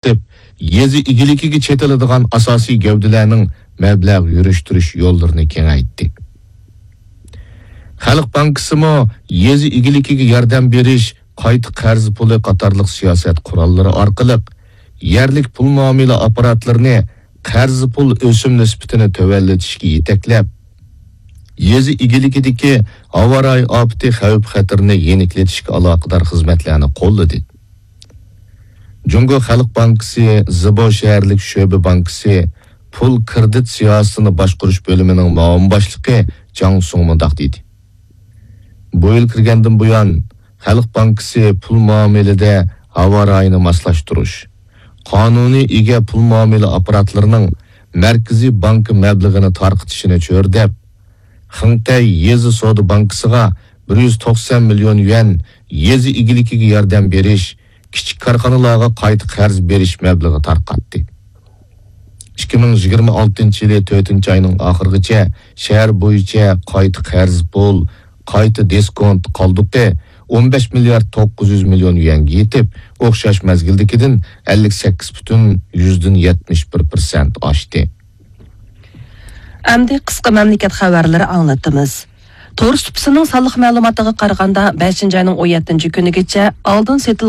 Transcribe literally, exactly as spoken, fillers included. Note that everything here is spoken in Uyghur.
ئېچىپ، يېزا ئىگىلىكىگە چېتىلىدىغان ئاساسىي گەۋدىلەرنىڭ مەبلەغ يۈرۈشتۈرۈش يوللىرىنى كېڭەيتتى. خەلق بانكىسىمۇ يېزا ئىگىلىكىگە ياردەم بېرىش، قايتا قەرز پۇلى قاتارلىق سىياسەت قوراللىرى ئارقىلىق يەرلىك پۇل مۇئامىلە ئاپپاراتلىرىنى قەرز پۇل ئۆسۈم نىسبىتىنى تۆۋەنلىتىشكە يېتەكلەپ، يېزا ئىگىلىكىدىكى ھاۋا رايى ئاپىتى خەۋپ-خەتىرىنى يېنىكلىتىشكە ئالاقىدار خىزمەتلەرنى قوللىدى. جۇڭگو خەلق بانكىسى زىبو شەھەرلىك شۆبە بانكىسى پۇل كىرېدىت سىياسىتىنى باشقۇرۇش بۆلۈمىنىڭ مۇئاۋىن باشلىقى جاڭ سۇڭ مۇنداق دېدى: بۇ يىل كىرگەندىن بۇيان، خەلق بانكىسى پۇل مۇئامىلىدە ھاۋا رايىنى ماسلاشتۇرۇش، قانۇنىي ئىگە پۇل مۇئامىلە ئاپپاراتلىرىنىڭ مەركىزىي بانكا مەبلىغىنى تارقىتىشىنى چۆرىدەپ، خېڭتەي يېزا سودا بانكىسىغا بىر يۈز توقسان مىليون يۈەن يېزا ئىگىلىكىگە ياردەم بېرىش، كىچىك كارخانىلارغا قايتا قەرز بېرىش مەبلىغى تارقاتتى. ئىككى مىڭ يىگىرمە ئالتىنچى يىلى تۆتىنچى ئاينىڭ ئاخىرىغىچە شەھەر بويىچە قايتا قەرز پۇل، قايتا دىسكونت قالدۇقى ئون بەش مىليارد توققۇز يۈز مىليون يۈەنگە يېتىپ، ئوخشاش مەزگىلدىكىدىن ئەللىك سەككىز پۈتۈن يۈزدىن يەتمىش بىر پىرسەنت ئاشتى. ئەمدى قىسقا مەملىكەت خەۋەرلىرى ئاڭلىتىمىز. تور سۇپىسىنىڭ سانلىق مەلۇماتىغا قارىغاندا، بەشىنچى ئاينىڭ ئون يەتتىنچى كۈنىگىچە ئالدىن سېتىلغان